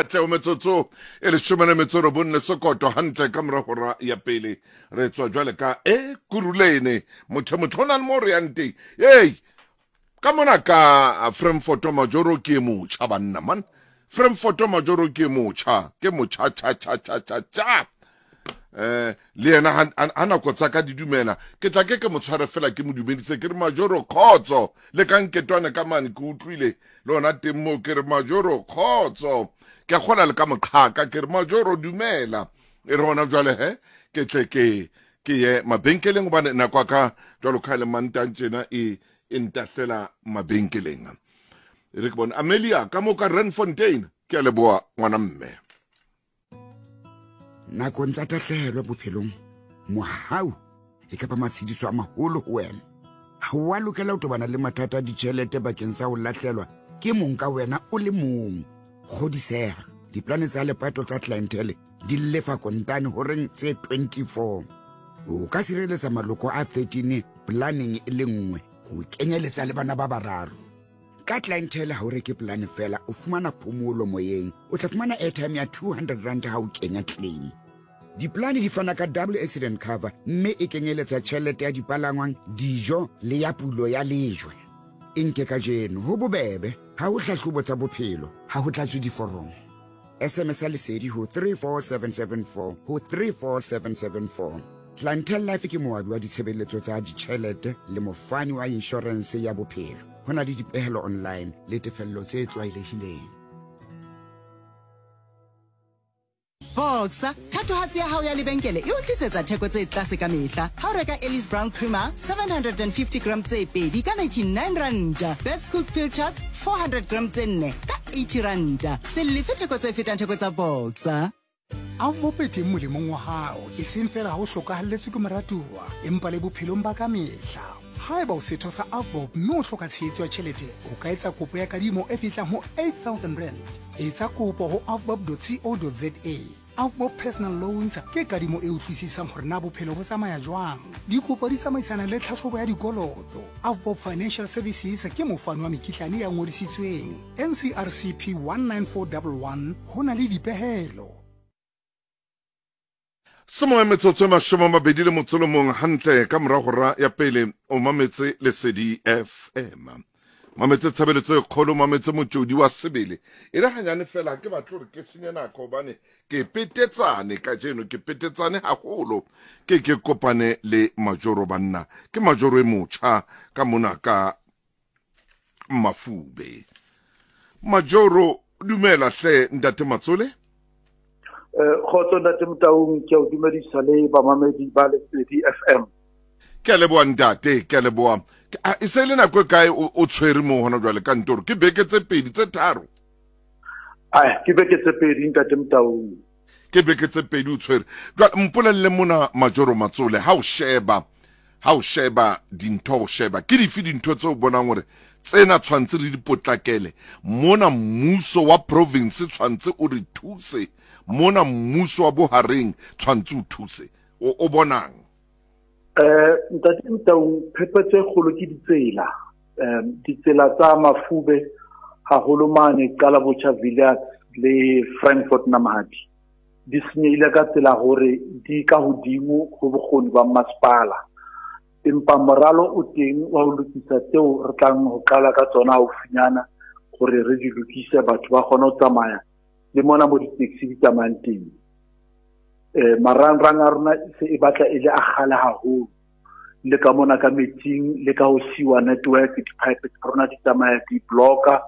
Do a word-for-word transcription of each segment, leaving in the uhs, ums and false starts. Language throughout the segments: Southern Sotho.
Katleho metsotso e leshome le metso e robong le sekoto hantle ka mora hora ya pele. Re tswa jwale ka e Kurulene. Motho motho o na le mo re yang teng. Ei, ka mona ka Frankfort Majoro ke motjha banna man. Frankfort Majoro ke motjha, ke motjha cha cha cha cha cha. Eh, le yena ha nako tsa ka di dumela ke tla ke ke mo tshware fela ke mo dumedise ke re Majoro khotso le ka nketwane ka mane ke utlwile le ona teng moo ke re Majoro khotso ke a kgola le ka moqhaka ke re Majoro dumela e re hona jwale he ke tle ke ke ye mabenkeleng hobane nako ya ka jwalo ka le mantang tjena e e ntahlela mabenkeleng e re ke bone Amelia ka mo ka Randfontein ke a leboha ngwana mme. Nakong tsa tahlehelo bophelong, mohau e ka ba matshediso a maholo ho wena. Ha o a lokela ho tobana le mathata a ditjhelete bakeng sa ho lahlelwa ke mong ka wena o le mong. Kgodiseha, diplane tsa lepato tsa Clientele di lefa kontane horeng tse twenty-four. O ka sireletsa maloko a thirteen planeng e le nngwe ho kenyeletsa le bana ba bararo. Ka Clientele ha o reke plane fela, o fumana phomolo moyeng. O tla fumana airtime ya two hundred rand ha o kenya claim. Diplane di fana ka double accident cover mme e kenyeletsa tjhelete ya dipalangwang, dijo le ya pulo ya lejwe. E nke kajeno ho bobebe, ha ho hlahlobo tsa bophelo, ha ho tlatswe diforomo. S M S ya lesedi ho three four seven seven four ho three four seven seven four. Clientele Life ke moabi wa ditshebeletso tsa ditjhelete le mofani wa inshorense ya bophelo. Ho na le dipehelo online le tefello tse tlwaelehileng. Boxer, thatohatsi ya hao ya lebenkele e o tlisetsa theko tse tlase ka mehla. Ha o reka Ellis Brown Creamer seven hundred and fifty gram tse pedi ka ninety-nine rand. Best Cook Pilchards four hundred gram tse nne ka eighty rand. Se lefe theko tse fetang theko tsa Boxer. A o bope teng molemong wa hao, e seng fela ha o hlokahalletswe ke moratuwa, empa le bophelong ba ka mehla. Haeba o setho sa Avbob mme o hloka tshehetso ya tjhelete, o ka etsa kopo ya kadimo e fihlang ho eight thousand rand. Etsa kopo ho avbob dot co dot za. Avbob Personal Loans ke kadimo e utlwisisang hore na bophelo bo tsamaya jwang. Dikopo di tsamaisana le tlhahlobo ya dikoloto. Avbob Financial Services ke mofani wa mekitlane ya ngodisitsweng. N C R C P one nine four one one ho na le dipehelo. Semoya metsotso e mashome a mabedi le motso o mong hantle ka mora hora ya pele o mametse Lesedi F M. Mametse tshebeletso e kgolo, mametse motjodi wa sebele. E re hanyane fela ke batle hore ke senye nako hobane ke petetsane kajeno, ke petetsane haholo. Ke ke kopane le Majoro banna. Ke Majoro e motjha ka mona ka Mafube. Majoro, dumela hle ntate Matsole. Eh, kgotso ntate Motaung, ke a o dumedisa le bamamedi ba Lesedi F M. Ke a leboha ntate, ke a leboha. E se le nako e kae o tshwere moo hona jwale kantoro? Ke beke tse pedi tse tharo? Ai, ke beke tse pedi ntate Motaung. Ke beke tse pedi o tshwere. Jwale mpolelle mona Majoro Matsole, ha o sheba, ha o sheba dintho, o sheba ke dife dintho tseo o bonang hore tsena tshwantse re di potlakele mona mmuso wa province tshwantse o re thuse, mona mmuso wa bohareng tshwantse o thuse, o, o bonang? Eh, ntate Motaung, phephetso e kgolo ke ditsela. Eh, ditsela tsa Mafube haholo mane Qalabotjha Villiers le Frankfort Namahadi di senyehile ka tsela hore di ka hodimo ho bokgoni ba masepala. Empa moralo o teng wa ho lokisa tseo re tlang ho qala ka tsona haufinyana hore re di lokise, batho ba kgone ho tsamaya le mona mo di-taxi di tsamayang teng. Eh, marangrang a rona se e batla e le a kgale haholo, le ka mona ka metsing, le ka ho siwa network, di-pipe tsa rona di tsamaya di blocka,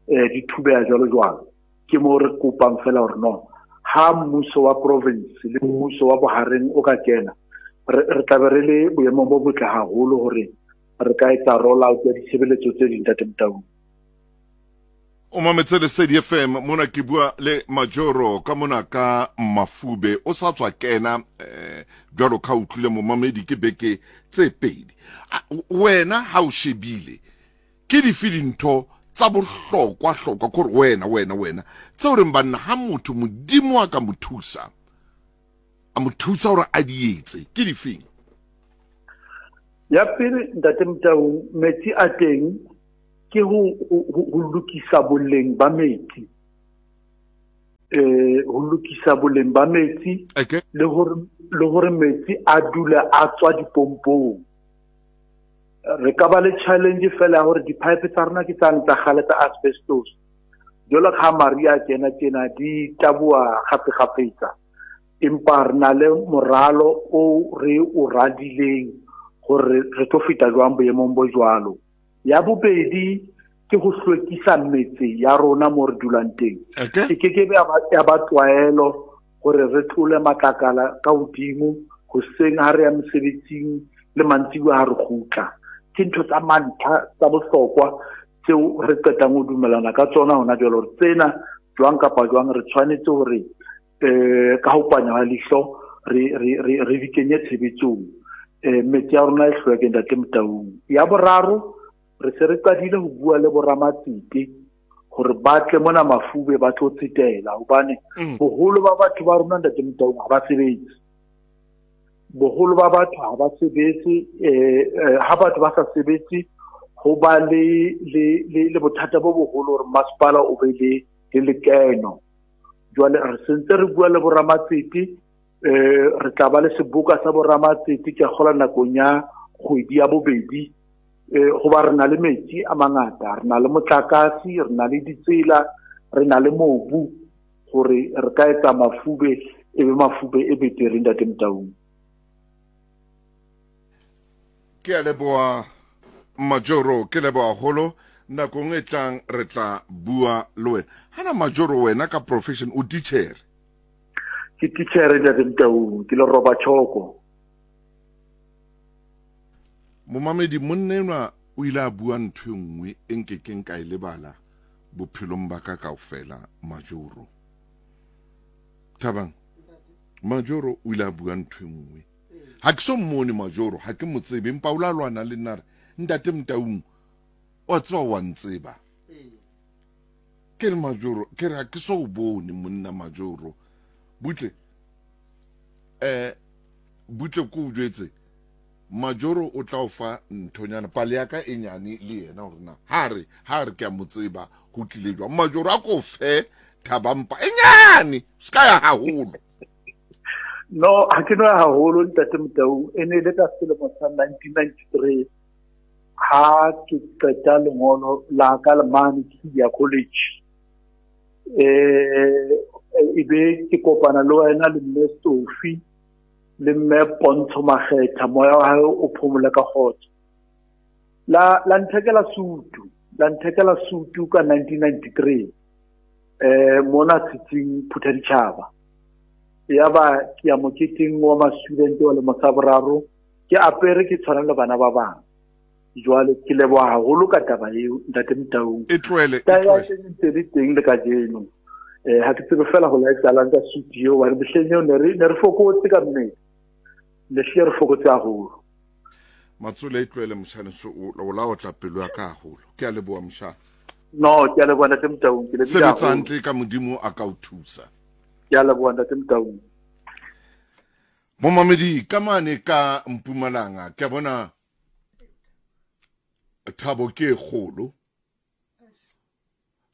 eh, di thubeha jwalo jwalo. Ke moo re kopang fela hore no, ha mmuso wa province le mmuso wa bohareng o ka kena, re, re tla be re le boemong bo botle haholo hore re ka etsa roll out ya ditshebeletso tse ding, ntate Motaung. O mametse Lesedi F M, mona ke bua le Majoro ka mona ka Mafube. O sa tswa kena, eh, jwalo ka utlwile momamedi ke beke tse pedi. Wena ha o shebile ke dife dintho tsa bohlokwa hlokwa kore wena wena wena tseo reng banna ha motho Modimo a ka mo thusa, a mo thusa hore a di etse, ke difeng? Ya pele ntate Motaung, metsi a teng ke ho, ho, ho lokisa boleng ba metsi. Eh ho lokisa boleng ba metsi okay. le hore le hore metsi a dule a tswa dipompong. Re ka ba le challenge fela hore di-pipe tsa rona ke tsane tsa kgale tsa asbestos. Jwalo ka ha mariha a kena tjena di taboha kgafekgafetsa. Empa re na le moralo o re o radileng hore re tlo feta jwang boemong bo jwalo. Ya bobedi ke ho hlwekisa metse ya rona mo re dulang teng. Okay. E ke ke be ya ba, ya ba tlwaelo hore re tlole matlakala ka hodimo hoseng ha re ya mosebetsing le mantsibuya ha re kgutla. Ke ntho tsa mantlha tsa bohlokwa tseo re qetang ho dumellana ka tsona hona jwale hore tsena jwang kapa jwang re tshwanetse hore eh ka ho panya ha leihlo re re re re di kenye tshebetsong. Eh metse ya rona e hlweke ntate Motaung. Ya boraro re se re qadile ho bua le boramatsete hore ba tle mona Mafube ba tlo tsetela hobane Mm. boholo ba batho ba rona ntate Motaung ha ba sebetse. Boholo ba batho ha ba sebetse, eh, eh, ha batho ba sa sebetse ho ba le, le, le, le bothata bo boholo hore masepala o be le, le lekeno. Jwale re sentse re bua le boramatsete, eh, re tla ba le seboka sa boramatsete ke a kgolwa nakong ya kgwedi ya bobedi. Eh, hoba re na le metsi a mangata, re na le motlakase, re na le ditsela, re na le mobu hore re ka etsa Mafube e be Mafube e betere ntate Motaung. Ke a leboha Majoro, ke leboha haholo. Nakong e tlang re tla bua le wena. Hana Majoro wena ka profession o teacher? Ke teacher ntate Motaung, ke le roba tjhoko. Momamedi, monna enwa o ile a bua ntho e nngwe e nkekeng ka e lebala bophelong ba ka kaofela, Majoro. Thabang, Majoro o ile a bua ntho e nngwe. Ha ke so mmone Majoro, ha ke mo tsebe, empa o la lwana le nna a re, Ntate Motaung, wa tseba wa ntseba. Ke re Majoro, ke re ha ke so o bone monna Majoro. Butle, eh, butle ko o jwetse, Majoro o tla o fa nthonyana, pale ya ka e nyane le yena hore na ha re, ha re ke a mo tseba ho tlile jwang. Majoro a ko fe Thabampa e nyane, se ka ya haholo. No, ha ke no ya haholo ntate Motaung, e ne le ka selemo sa nineteen ninety-three ha ke qeta lengolo la ka le mane Kiya College. Eh, e be ke kopana le wena le mme Sophie le mme Pontsho Makgetha, moya wa hae o phomole ka kgotso. La, la nthekela sutu, la nthekela sutu ka nineteen ninety-three. Eh, mona setsing Phuthaditjhaba. Ya ba ke ya moketeng wa ma-student wa lemo sa boraro, ke apere ke tshwana le bana ba bang. Jwale ke leboha haholo ka taba eo ntate Motaung. E tlohele, e Taba ya tlohele. teng e ntse le teng le kajeno. Eh, ha ke tsebe fela ho la etsahalang ka sutu eo, hobane mehleng eo ne re, ne re fokotse ka mmele. Ne hlile re fokotse haholo. Matsole e tlohele motjhane, so o, o la otla pelo ya ka haholo. Ke a leboha motjhane. No, ke a leboha ntate Motaung, ke lebohile Sebetsa haholo. hantle ka Modimo a ka o thusa. Ke a leboha ntate Motaung. Momamedi ka mane ka Mpumalanga, ke a bona thabo ke e kgolo.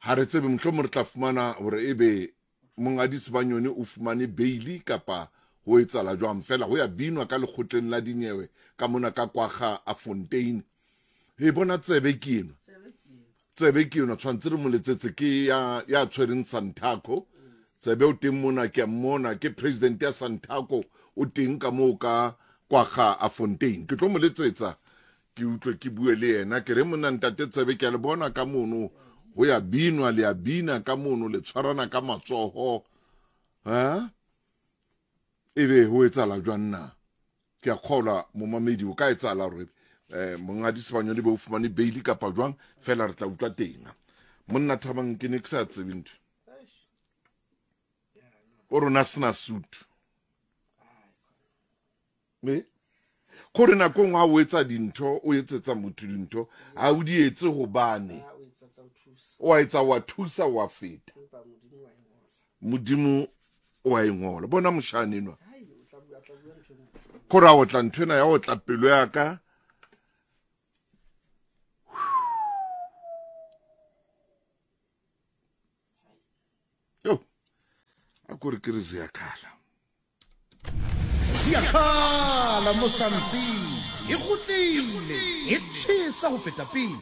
Ha re tsebe mohlomong re tla fumana hore ebe Monghadi Sibanyoni o fumane bail kapa ho etsahala jwang, fela ho ya binwa ka lekgotleng la dinyewe ka mona ka Kwagga a Fontein. He bona tsebe ke enwa. Tsebe ke enwa, tshwantse re mo letsetse ke ya, ya tshwereng Santaco. Tsebe o teng mona, ke a mmona, ke president ya Santaco o teng ka moo ka Kwagga a Fontein. Ke tlo mo letsetsa ke utlwe ke bue le yena, ke re monna ntate Tsebe ke a le bona ka mono ho ya binwa, le ya bina ka mono, le tshwarana ka matsoho. Ha? Ebe ho etsahala jwang na? Ke a kgolwa momamedi o ka etsahala hore, eh, Monghadi Sibanyoni be o fumane bail kapa jwang, fela re tla utlwa teng. Monna Thabang, ke ne ke sa tsebe ntho. O rona sena sutu. Me? Kore nako e nngwe ha o etsa dintho, o etsetsa motho dintho, ha o di etse hobane. O a etsa, wa thusa, wa feta. Modimo o a e ngola. Bona moshane enwa. Kore a otla nthwena ya otla pelo ya ka. Yo. A ko re ke re Ziyakhala. Ziyakhala mo Sun City e kgutlile e tjhesa ho feta pele.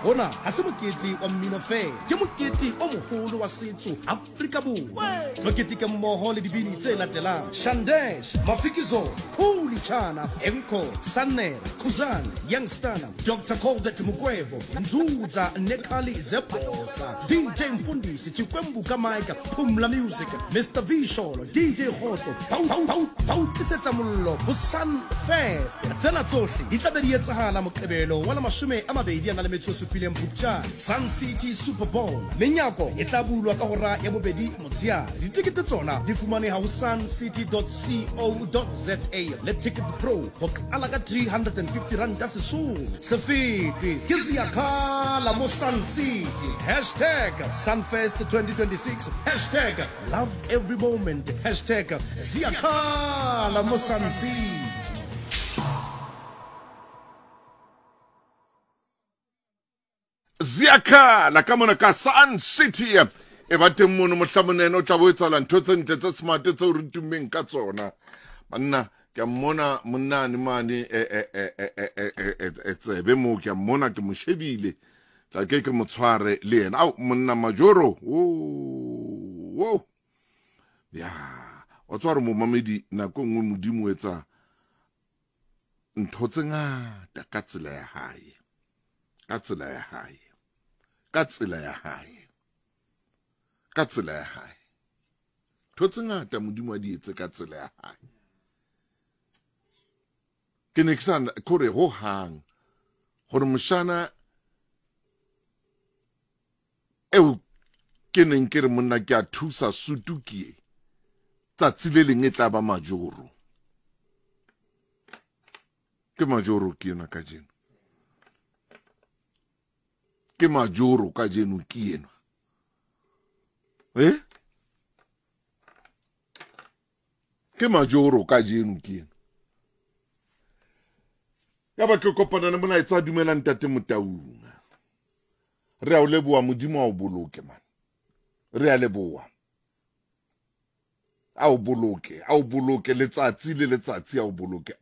Hona ha se mokete wa mmino fela, ke mokete o moholo wa setso Afrika Borwa. Tlo keteka mmoho le dibini tse latelang: Shandesh, Mafikizolo, Khuli Chana, Enko, Sanel, Khuzani, Youngstana, Doctor Colbert Mukwevho, Nzuza Nekhali Zebosa, D J Mfundisi, Chikwembu Kamaika, Phumla Music, Mister V Sholo, D J Khotso, Bau Bau Bau Bau tlisetsa mollo ho Sun Fest. Tsena tsohle di tla be di etsahala Moqebelo wa la mashome a mabedi a na le metso e supileng Phupjane, Sun City Super Bowl. Menyako e tla bulwa ka hora ya bobedi motsheare. Ditekete tsona di fumaneha ho sun city dot co dot za le Ticket Pro ho qala ka three hundred and fifty rand ka Sesotho. Se fete ke Ziyakhala mo Sun City. Hashtag Sunfest twenty twenty-six. Hashtag love every moment. Hashtag Ziyakhala mo Sun City. Ziyakhala ka mona ka Sun City. E ba teng mono mohlamonene o tla bo etsahala ntho tse ntle tse smart tseo re tummeng ka tsona. Banna ke a mmona monnane mane e e e e e e tsebe moo, ke a mmona ke mo shebile. Tla ke ke mo tshware le yena. Ao monna Majoro. Oh. Ya, o tshware momamedi nako nngwe Modimo o etsa ntho tse ngata ka tsela ya hae. Ka tsela ya hae. Ka tsela ya hae. Ka tsela ya hae. Ntho tse ngata Modimo a di etse ka tsela ya hae. Ke ne ke sa kore ho hang gore moshana eo ke neng ke re monna ke a thusa sutu ke e tsatsi le leng e tla ba Majoro. Ke Majoro ke yona kajeno. Ke Majoro kajeno ke enwa. Eh? Ke Majoro kajeno ke enwa. Ya ba ke kopana le molaetsa dumela ntate Motaung. Re a o leboha Modimo a o boloke man. Re a leboha. A o boloke, a o boloke letsatsi le letsatsi a o boloke.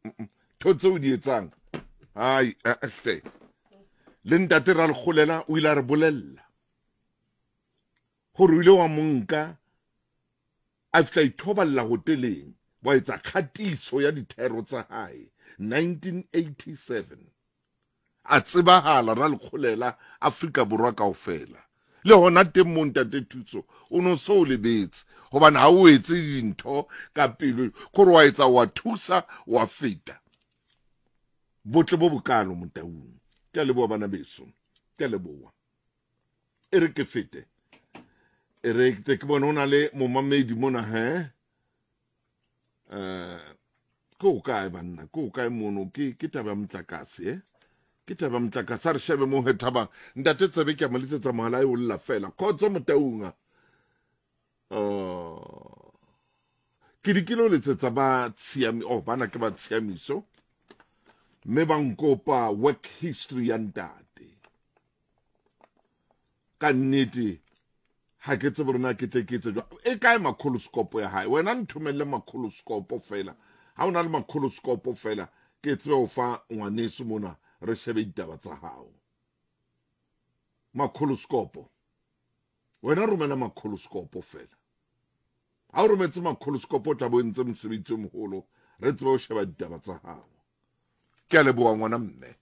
Ntho tseo di etsang. Ai, hle. Le ntate ra lekgolela o ile a re bolella hore o ile wa monka a fihla ithoballa hoteleng, wa etsa kgatiso ya dithero tsa hae nineteen eighty-seven. A tsebahala ra lekgolela Afrika Borwa kaofela. Le hona teng mo ntate Thuso o no so lebetse hobane ha o etse dintho ka pelo kore wa etsa wa thusa wa feta. Botle bo bokalo Motaung. Ke a leboha bana beso. Ke a leboha. E re ke fete. E re ke bone ho na le momamedi mona he. Eh ko kae banna, ko kae mono ke ke taba ya motlakase eh. Ke taba motlakase a re shebe mo he thabang. Ntate Tsebe ke a mo letsetsa mohala e o lla fela. Khotso Motaung. Oh. Ke di kilo letsetsa ba tshiami, oh bana ke ba tshiamiso. Mme ba nkopa work history ya ntate. Ka nnete ha ke tsebe rona ke tle ke etse jwang. E kae makgoloskopo ya hae? Wena nthomelle makgoloskopo fela. Ha o na le makgoloskopo fela ke tsebe ho fa ngwaneso mona re shebe ditaba tsa hao. Makgoloskopo. Wena romela makgoloskopo fela. Ha o rometse makgoloskopo o tla bo entse mosebetsi o moholo, re tsebe ho sheba ditaba tsa hao. Ke a leboha ngwana mme.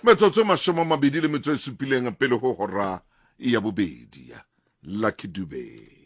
Metsotso e mashome a mabedi le metso e supileng pele ho hora ya bobedi. Lucky Dube.